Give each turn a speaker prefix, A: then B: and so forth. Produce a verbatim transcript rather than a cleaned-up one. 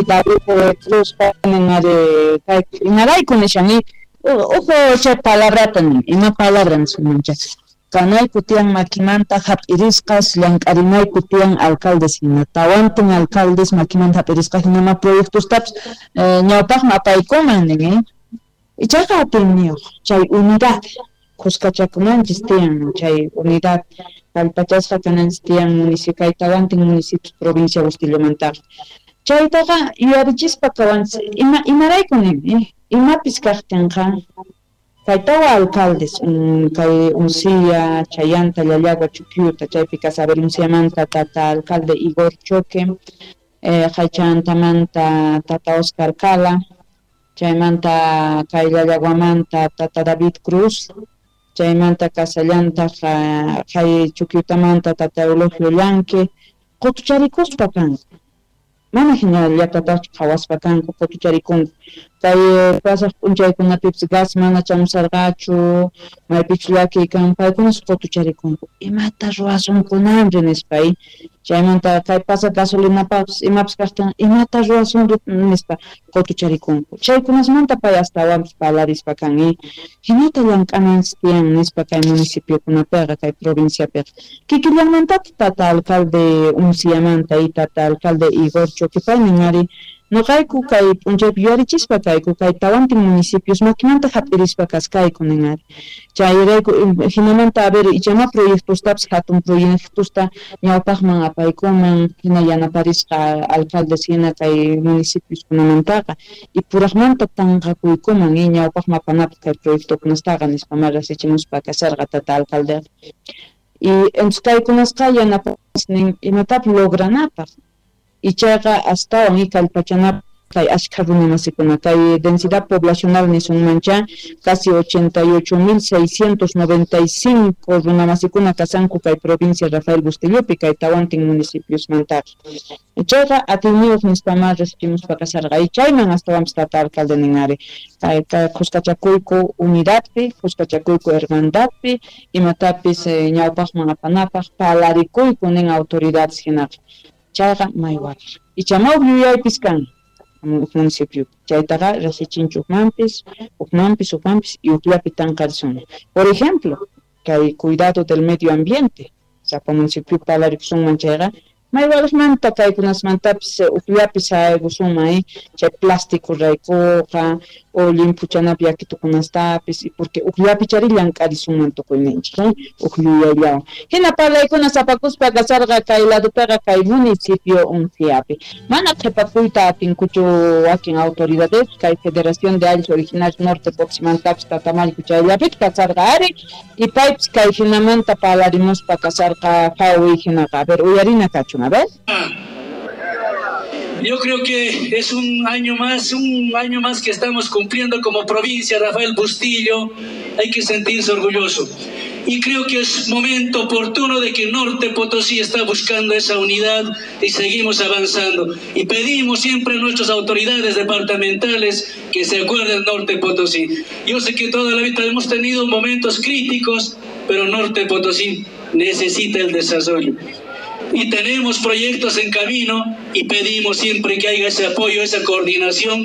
A: David Cruz imarayku nishani uhu chay palabrata nin ima palabra nisunmancha kanayku tiyan makimanta hap'irisqas llank'arinayku tiyan alcaldes hina tawantin alcaldes makimanta hap'irisqa hinama proyectostapis ñawpaqman apaykuman nin ichaqa atiyniyuq chay unidad kuskachakunanchis tiyan chay unidad kallpachasqa kananchis tiyan municipio kay tawantin municipios provincia Bustillomantaqa chaytaqa yuyarichispa kawanchis ima imarayku nin imapis kaqtinqa kay tawa alcaldes kay Uncía, Chayanta, Llallagua, Chuquiuta chaypi kasabel Unciamanta tata alcalde Igor Choque eh, Chaychantamanta tata Oscar Cala chaymanta kay Llallaguamanta tata David Cruz chaymanta kasallantaq kay Chuquiutamanta tata Eulogio Llanque qutucharikuspa kanku mana hinallatataqchu qhawaspa kanku qutucharikunku kay pasaq p'unchaykunapipis gas mana chamusarqachu maypichu llakiy kan paykunas qutucharikunku imata ruwasunkunanri nispa chaymanta kay pasaq gasolinapaqpis imapis kaqtin imata ruwasunri nispa qutucharikunku chaykunasmanta pay astawanpis parlarispa kan hinata llank'ananchis tiyan nispa kay municipiokunapiqa kay provinciapiqa kikillanmantataq tata alcalde Unciamanta y tata alcalde Igor Choque pay nin ari noqayku kay p'unchaypi yuyarichispa kayku kay tawantin municipios makimanta hap'irispa kaskayku nin ari chayrayku hinamanta a ver ichama proyectostapis hatun proyectosta ñawpaqman apaykuman hina yanaparisqa alcaldes hina kay municipioskunamantaqa y puraqmanta tanqakuykuman y ñawpaqman apanapaq kay proyectokunastaqa nispa ma rasichimuspa kasarqa tata alcaldeqa y entonces kaykunasqa yanapawanchis nin imatapis logranapaq ichaqa astawan y kallpachanapaq kay ashkha runamasikuna kay densidad poblacional nisunmancha casi ochenta y ocho mil seiscientos noventa y cinco runamasikuna kasanku kay provincia Rafael Bustillopi kay tawantin municipiosmantaqa chayqa atiyniyuq nispama rasichimuspa kasarqa y chayman astawanpis tata alcalde nin ari kay kay kuskachakuyku unidadpi kuskachakuyku hermandadpi imatapis ñawpaqman apanapaq parlarikuyku nin autoridades hinaqa chayqa may waqaq ichama huk yuyaypis kan municipio chaytaqa rasichinchu hukmanpis hukmanpis hukmanpis y hukllapi tanqarisun por ejemplo kay cuidado del medio ambiente sapa municipio parlarikusunman chayqa may waqmanta kaykunasmantapis hukllapi saykusunman chay plástico raykuqa o limpuchanapi yakitukunastapis y porque hukllapi chari llank'arisunman tukuyninchik huk yuyayllawan hina parlaykuna sapakuspa kasarqa kay ladopiqa kay municipio Unciapi mana qhipakuyta atinkuchu wakin autoridades kay Federación de Ayllus Originarios Norte Potosímantapis tatamallku chayllapita kasarqa ari y paypis kay hinamanta parlarimuspa kasarqa fawi hinaqa a ver uyarina kachun a ver.
B: Yo creo que es un año más, un año más que estamos cumpliendo como provincia Rafael Bustillo. Hay que sentirse orgulloso. Y creo que es momento oportuno de que Norte Potosí está buscando esa unidad y seguimos avanzando. Y pedimos siempre a nuestras autoridades departamentales que se acuerden Norte Potosí. Yo sé que toda la vida hemos tenido momentos críticos, pero Norte Potosí necesita el desarrollo. Y tenemos proyectos en camino y pedimos siempre que haya ese apoyo, esa coordinación.